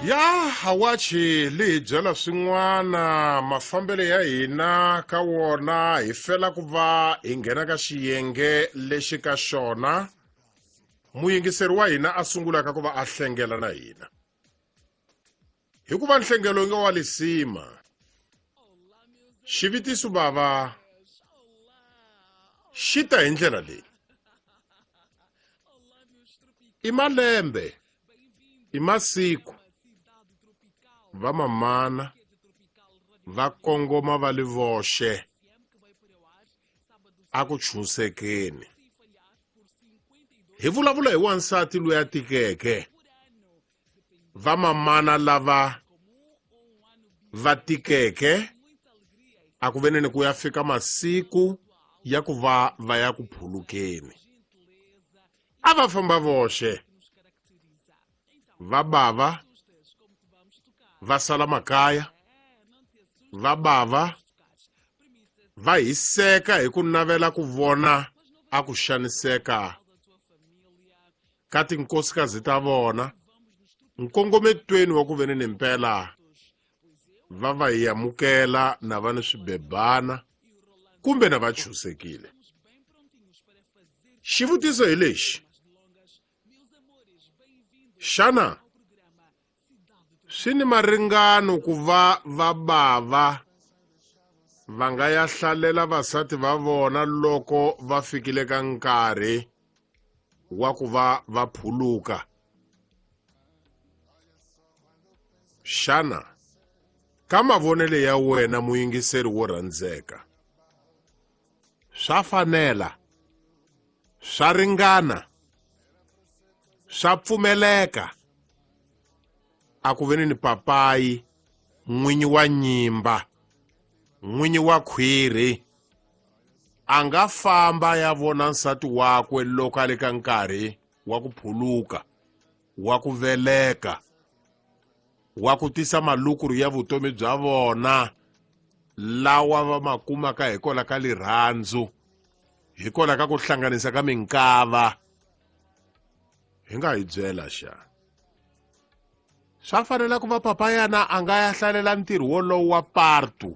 Ya hawachi li hi byela swin'wana mafambelo ya hina ka wona hi fela ku va hi nghena ka xiyenge lexi ka xona muyingiseri wa hina a sungulaka ku va a hlengela na hina hikuva nhlengelo nga wa lisima xivitiso bava xi ta hi ndlela leyi i malembe i masiku vamamana va kongoma va li voxe a ku chunsekeni hi vulavula hi wansati loyi a tikeke vamamana lava va tikeke a ku veneni ku ya fika masiku ya ku va va ya ku phulukeni a va famba voxe va bava va sala makaya va bava va hiseka hi ku navela ku vona a ku xaniseka ka tinkosikazi ta vona nkongometweni wa ku veni ni mpela va va hi amukela na va ni swibebana kumbe na va chusekile xivutiso hi lexi xana swi ni maringano ku va va bava va nga ya hlalela vasati va vona loko va fikile ka nkarhi wa ku va va phuluka xana ka mavonelo ya wena muyingiseri wo rhandzeka swa fanela swa ringana swa pfumeleka a ku veni ni papayi n'winyi wa nyimba n'winyi wa khwiri a nga famba ya vona nsati wakwe loko a le ka nkarhi wa ku phuluka wa ku veleka wa ku tisa malukuru ya vutomi bya vona lawa va ma kumaka hikwalaho ka lirhandzu hikwalaho ka ku hlanganisa ka minkava hi nga hi byela xa swa fanela ku va papa yana a nga ya hlalela ntirho wolowo wa partu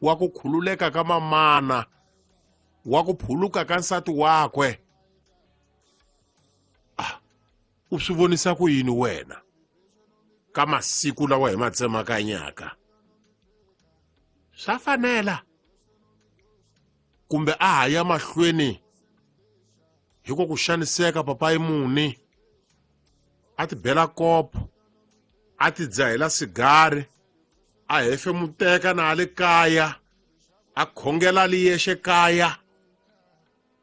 wa ku khululeka ka mamana wa ku phuluka ka nsati wakwe ah u swi vonisa ku yini wena ka masiku lawa hi ma tsemakanyaka swa fanela kumbe a ha ya mahlweni hi ku ku xaniseka papayi muni a ti bela kopo a ti dzahela sigari a hefemuteka na a le kaya a khongela li yexe kaya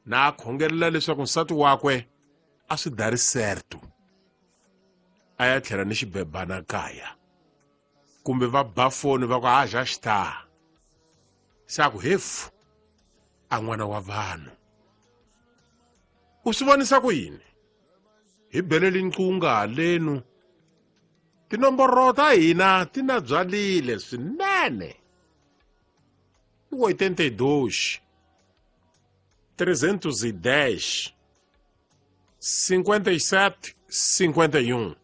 na a khongelela leswaku nsati wakwe a swi dari certo a ya tlhela ni xibebana kaya kumbe va ba foni va ku a já está se a ku hefu a n'wana wa vanhu u swi vonisa ku yini hi beleli nqunga halenu tinomboro ta hina ti na byalile swinene i 82 310 57 51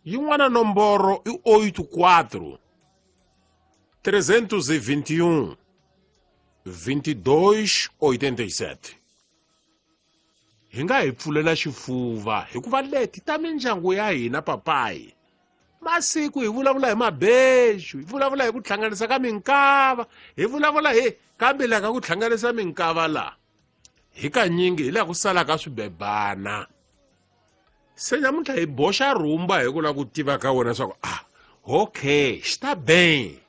yin'wana nomboro i 84 321 22 87 hi nga hi pfulela xifuva hikuva leti ta mindyangu ya hina papayi masiku hi vulavula hi mabexu hi vulavula hi ku hlanganisa ka minkava hi vulavula hi kambe laha ka ku hlanganisa minkava laha hi kanyingi hi laha ku salaka swibebana se namuntlha hi boxa rhumba hi ku lava ku tiva ka wena swa ku ah okay xi ta ben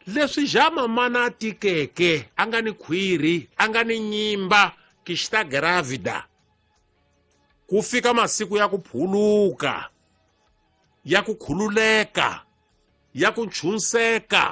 leswi ja mamana a tikeke a nga ni khwiri a nga ni nyimba ki xi ta gravida ku fika masiku ya ku phuluka ya ku khululeka ya ku nchunseka.